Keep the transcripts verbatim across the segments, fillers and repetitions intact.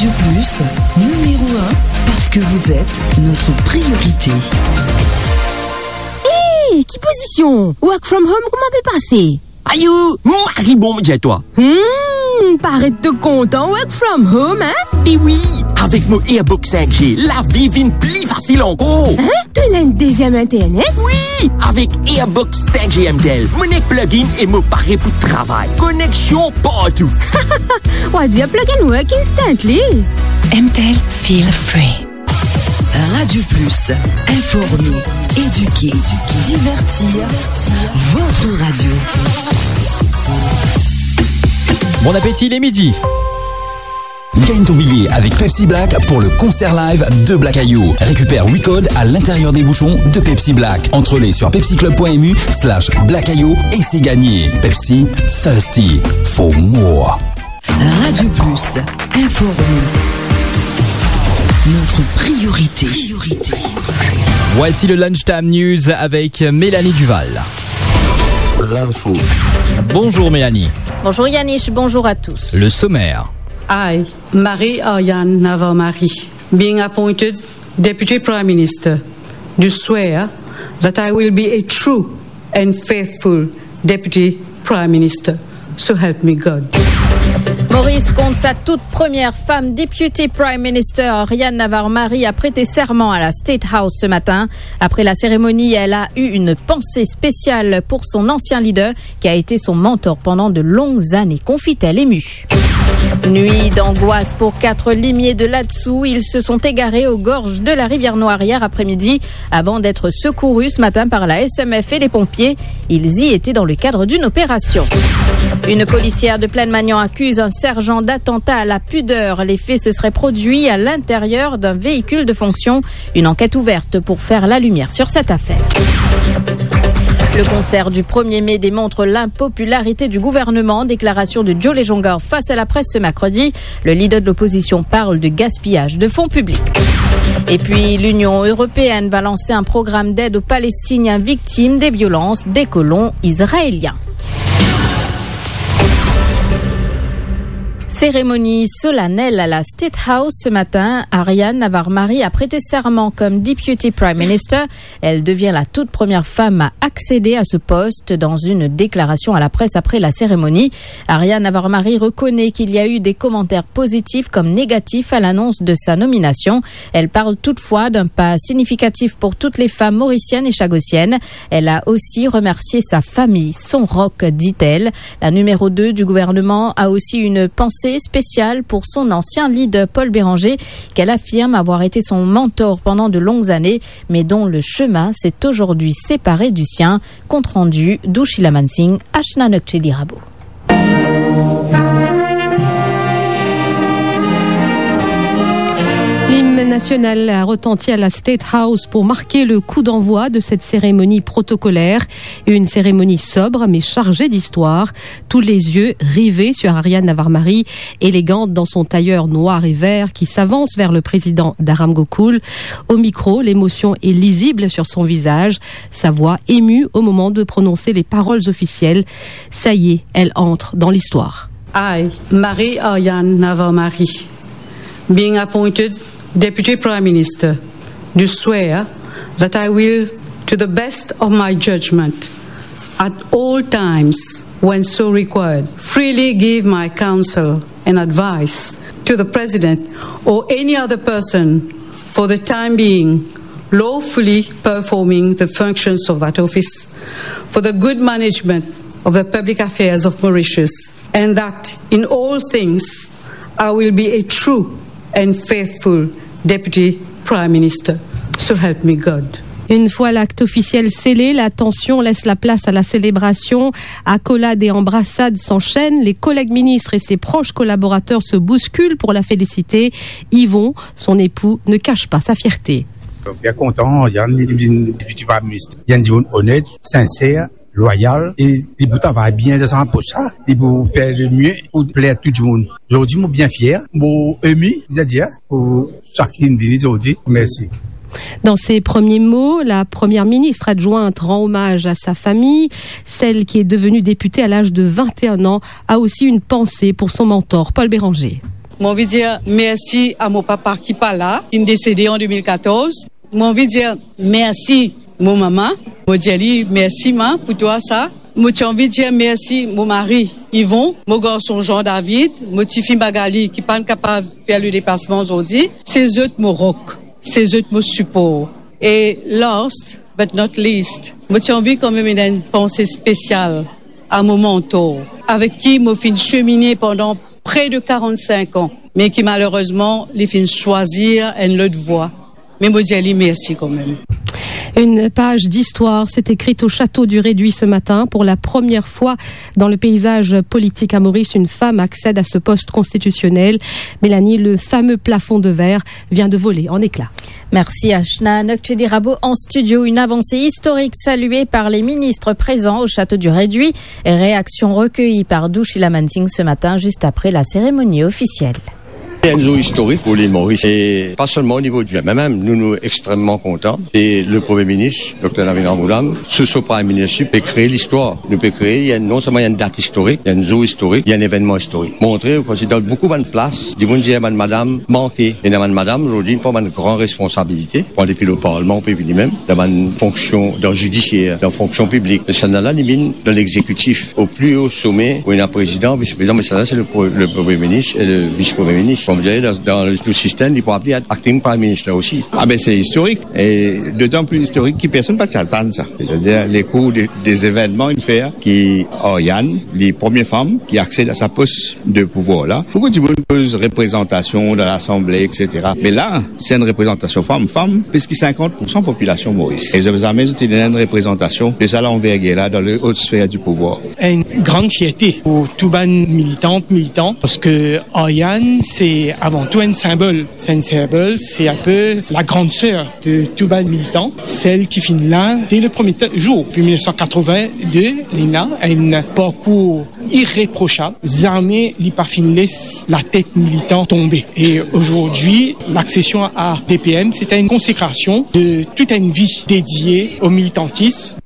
De plus, numéro un, parce que vous êtes notre priorité. Hey, ki pozision? Work from home, kouma pe pase? Ayo, mari bon, mo dir twa. Hmm, paret to kontan work from home, hein? E wi, avek mo Airbox cinq G, lavi vinn pli fasil ankor. Hein? To ena enn deziem internet? Wi, avek Airbox cinq G M T L, mo ena plug-in e mo pare pou travay. Koneksion partou. Wa dir plug and work instantly. M T L, feel free. Radio Plus, informer, éduquer, divertir, votre radio. Bon appétit les midis. Gagne ton billet avec Pepsi Black pour le concert live de Black Ayou. Récupère huit codes à l'intérieur des bouchons de Pepsi Black. Entrez sur pepsiclub point M U slash Black Ayou et c'est gagné. Pepsi, thirsty for more. Radio Plus, informer. Notre priorité. Voici le Lunchtime News avec Mélanie Duval. L'info. Bonjour Mélanie. Bonjour Yannick, bonjour à tous. Le sommaire. I, Marie Ariane Navarre-Marie, being appointed Deputy Prime Minister, do swear that I will be a true and faithful Deputy Prime Minister. So help me God. Maurice compte sa toute première femme Deputy Prime Minister. Ariane Navarre-Marie a prêté serment à la State House ce matin. Après la cérémonie, elle a eu une pensée spéciale pour son ancien leader, qui a été son mentor pendant de longues années, confie-t-elle émue. Nuit d'angoisse pour quatre limiers de Latsou. Ils se sont égarés aux gorges de la rivière Noire hier après-midi avant d'être secourus ce matin par la S M F et les pompiers. Ils y étaient dans le cadre d'une opération. Une policière de Plaine-Magnan accuse un sergent d'attentat à la pudeur. Les faits se seraient produits à l'intérieur d'un véhicule de fonction. Une enquête ouverte pour faire la lumière sur cette affaire. Le concert du premier mai démontre l'impopularité du gouvernement. Déclaration de Joe Lejonga face à la presse ce mercredi. Le leader de l'opposition parle de gaspillage de fonds publics. Et puis, l'Union européenne va lancer un programme d'aide aux Palestiniens victimes des violences des colons israéliens. Cérémonie solennelle à la State House ce matin. Ariane Navarre-Marie a prêté serment comme Deputy Prime Minister. Elle devient la toute première femme à accéder à ce poste. Dans une déclaration à la presse après la cérémonie, Ariane Navarre-Marie reconnaît qu'il y a eu des commentaires positifs comme négatifs à l'annonce de sa nomination. Elle parle toutefois d'un pas significatif pour toutes les femmes mauriciennes et chagossiennes. Elle a aussi remercié sa famille, son roc, dit-elle. La numéro deux du gouvernement a aussi une pensée spéciale pour son ancien leader Paul Bérenger, qu'elle affirme avoir été son mentor pendant de longues années, mais dont le chemin s'est aujourd'hui séparé du sien. Compte rendu, Douchila Mansingh, Ashna Nokcheli Rabo. L'hymne national a retenti à la State House pour marquer le coup d'envoi de cette cérémonie protocolaire. Une cérémonie sobre mais chargée d'histoire. Tous les yeux rivés sur Ariane Navarre-Marie, élégante dans son tailleur noir et vert, qui s'avance vers le président Dharam Gokul. Au micro, l'émotion est lisible sur son visage, sa voix émue au moment de prononcer les paroles officielles. Ça y est, elle entre dans l'histoire. I, Marie Ariane Navarre-Marie, being appointed Deputy Prime Minister, do swear that I will, to the best of my judgment, at all times when so required, freely give my counsel and advice to the President or any other person for the time being lawfully performing the functions of that office for the good management of the public affairs of Mauritius, and that in all things I will be a true and faithful Deputy Prime Minister. So help me God. Une fois l'acte officiel scellé, la tension laisse la place à la célébration. Accolades et embrassades s'enchaînent. Les collègues ministres et ses proches collaborateurs se bousculent pour la féliciter. Yvon, son époux, ne cache pas sa fierté. Bien kontan, Ariane, li vinn deputy prime minister. Li enn dimoun onet, sinser, lwayal, e li pou travay bien dan sa pos la. Li pou fer le mie pou pler tou dimoun. Zordi, mo bien fier, mo emi, setadir, pou sa ki vinn vini zordi. Mersi. Dans ses premiers mots, la première ministre adjointe rend hommage à sa famille. Celle qui est devenue députée à l'âge de vingt et un ans a aussi une pensée pour son mentor, Paul Bérenger. Mo anvi dir mersi a mo papa ki pa la, ki'nn desede an de mil katorz. Mo anvi dir mersi mo mama. Mo dir li, "Mersi, ma, pou twa sa." Mo ti anvi dir mersi mo mari, Yvon, mo garson Jean David, mo tifi Magali, ki pa'nn kapav fer le deplasman zordi. Se zot mo rok, se zot mo sipor. E last but not least, mo ti anvi kanmem ena enn panse spesial a mo mantor, avek ki mo finn semine pandan pre de karant-sink an, me ki malerezman, li finn swazir enn lot vwa. Me mo dir li mersi kanmem. Une page d'histoire s'est écrite au château du Réduit ce matin. Pour la première fois dans le paysage politique à Maurice, une femme accède à ce poste constitutionnel. Mélanie, le fameux plafond de verre vient de voler en éclats. Mersi, Ashna. Nokchedi Rabo en studio. Une avancée historique saluée par les ministres présents au château du Réduit. Réaction recueillie par Dushila Mansingh ce matin, juste après la cérémonie officielle. Se enn zour istorik pou lil Moris, e pa selman o nivo di, me mem nou, nou extrememan kontan. E le Premie Minis, Dokter Navin Ramgoolam, sou so Prime Ministership, pe kree listwar. Nou pe kree, li enn, non selman li enn dat istorik, li enn zour istorik, li enn evennman istorik. Montre, parski dan boukou bann plas, dimoun dir bann madam manke. Ena bann madam, zordi, pran bann gran responsabilite, pran depi le parlman, ou pe vini mem, dan bann fonksion, dan zidisier, dan fonksion piblik. Me sannla, li vinn dan legzekitif, o pli o some, ou ena prezidan, vis-prezidan, me sannla, se le pre-, le Premie Minis e le Vis-Premie Minis. Kouma dir, dan, dan le, le sistem, li pou apel acting Prime Minister osi. Ah ben, se istorik, e dotan pli istorik ki personn pa ti atann sa. Setadir, le kour de, de zevennman, in fer ki Ariane, li premie fam ki aksed a sa pos de pouvwar la. Boukou dimoun koz reprezantasion dan Lasanble, et cetera. Me la, se enn reprezantasion fam. Fam, plis ki sinkant poursan popilasion Moris. E zot zame zot ena enn reprezantasion de sa lanvergir la dan le ot sfer di pouvwar. Enn gran fierte pou tou bann militant, militan, parski Ariane, se avan tou enn sinbol. Se enn sinbol, se enn pe la grande sœur de tou bann militan, sel ki finn la de le premie ta-, zour, depi mil nef san katrovin de, li ena enn parkour ireprosab. Zame li pa finn les latet militan tonbe. E azordi, laksesion a D P M, se enn konsekrasion de tout enn vi dedie o militantism.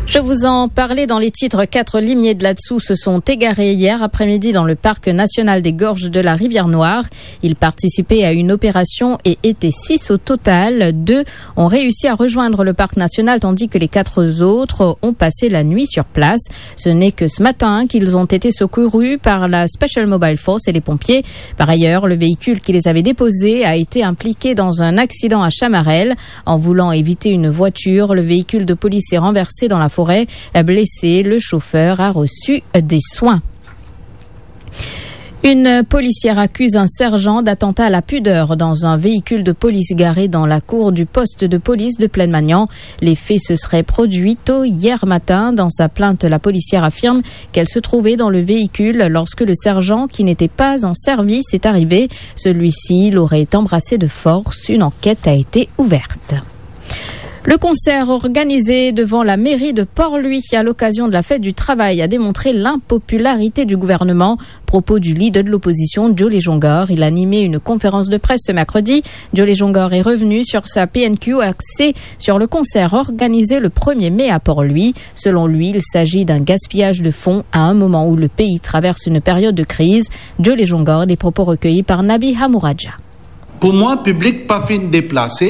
Je vous en parlais dans les titres, quatre limiers de Latsou se sont égarés hier après-midi dans le parc national des Gorges de la Rivière Noire. Ils participaient à une opération et étaient six au total. Deux ont réussi à rejoindre le parc national, tandis que les quatre autres ont passé la nuit sur place. Ce n'est que ce matin qu'ils ont été secourus par la Special Mobile Force et les pompiers. Par ailleurs, le véhicule qui les avait déposés a été impliqué dans un accident à Chamarel. En voulant éviter une voiture, le véhicule de police s'est renversé dans la forêt. Blessé, le chauffeur a reçu des soins. Une policière accuse un sergent d'attentat à la pudeur dans un véhicule de police garé dans la cour du poste de police de Plaine-Magnan. Les faits se seraient produits tôt hier matin. Dans sa plainte, la policière affirme qu'elle se trouvait dans le véhicule lorsque le sergent, qui n'était pas en service, est arrivé. Celui-ci l'aurait embrassé de force. Une enquête a été ouverte. Le concert organisé devant la mairie de Port-Louis à l'occasion de la fête du travail a démontré l'impopularité du gouvernement. Propos du leader de l'opposition, Joe Lejongar. Il animait une conférence de presse ce mercredi. Joe Lejongar est revenu sur sa P N Q axée sur le concert organisé le premier mai à Port-Louis. Selon lui, il s'agit d'un gaspillage de fonds à un moment où le pays traverse une période de crise. Joe Lejongar, des propos recueillis par Nabi Hamouraja. Pou mwa, piblik pa finn deplase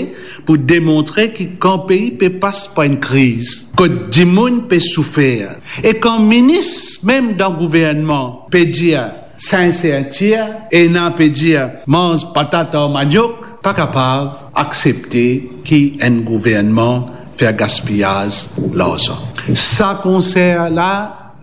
pou demontre ki kan pei pe pas par enn kriz, kot dimoun pe soufer, e kan minis mem dan gouvernman pe dir sinsertir, ena pe dir manz patat ar maniok, pa kapav aksepte ki enn gouvernman fer gaspiyaz larzan. Sa konser la,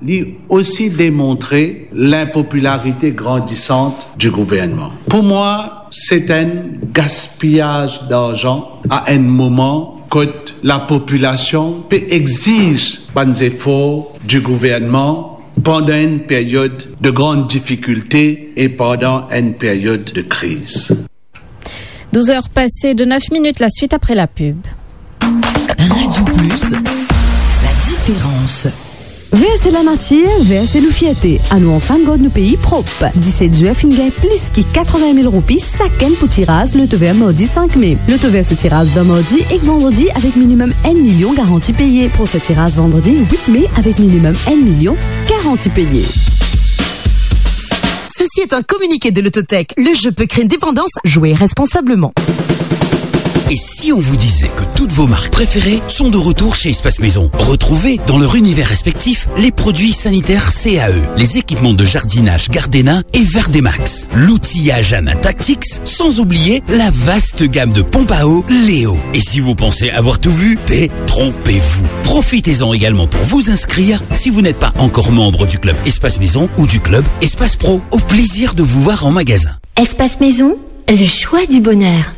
li osi demontre linpopilarite grandisant di gouvernman. Pou mwa, se enn gaspiyaz darzan a enn moman kot lapopilasion pe exiz bann zefor di gouvernman pandan enn period de gran difikilte e pandan enn period de kriz. Douze heures passées de neuf minutes, la suite après la pub. Radio Plus, la différence. Ver se lanatir, ver se nou fierte. Anou ansam gard nou pei prop. Diset zwer finn gagn plis ki katrevin mil roupi sakenn pou tiraz Lotovert mardi sink me. Lotovert so tiraz dan mardi ek vandredi avek minimem enn milion garanti peye. Prosin tiraz vandredi wit me avek minimem enn milion garanti peye. Ceci est un communiqué de Lototech. Le jeu peut créer une dépendance. Jouez responsablement. Et si on vous disait que toutes vos marques préférées sont de retour chez Espace Maison ? Retrouvez dans leur univers respectif les produits sanitaires C A E, les équipements de jardinage Gardena et Verdemax, l'outillage Ana Tactics, sans oublier la vaste gamme de pompes à eau Léo. Et si vous pensez avoir tout vu, détrompez-vous. Profitez-en également pour vous inscrire si vous n'êtes pas encore membre du club Espace Maison ou du club Espace Pro. Au plaisir de vous voir en magasin. Espace Maison, le choix du bonheur.